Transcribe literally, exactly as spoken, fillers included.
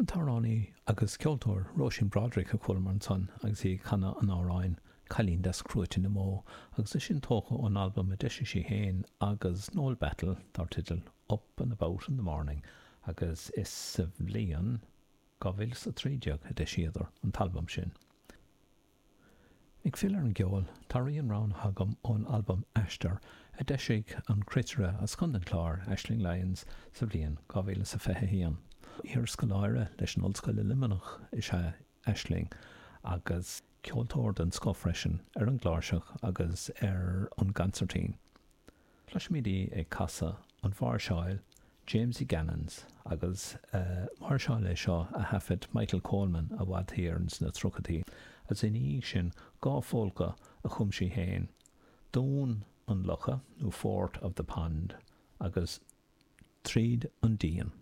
An t-amhránaí agus ceoltóir Róisín Broderick a chualamar ansan agus í ag canadh an amhráin 'Cailín Deas Crúite na mBó' agus é sin tógtha ón albam a d'eisigh sí féin agus Noel Battle dar teideal Up and About in the Morning agus is sa bhliain dhá mhíle is a trí déag a d'eisíodar an t-albam sin. Ag filleadh ar an gceol, tá rian roghnaithe agam ón albam Aistear a d'eisigh an cruitire as Contae an Chláir, Aisling Lyons, sa bhliain dhá mhíle is a fiche a haon. Iarscoláire leis an Ollscoil i Luimneach is ea Aisling agus ceoltóir den scoth freisin ar an gcláirseach agus ar an gconsairtín. Cloisfimid í ag casadh an mháirseáil Jamesie Gannon's agus máirseáil é seo a thaifead Michael Coleman i bhfad thiar ins na tríochaidí agus ina dhiaidh sin dhá phólca a chum sí féin, Dún an Locha nó Fort of the Pond agus Tríd an Díon.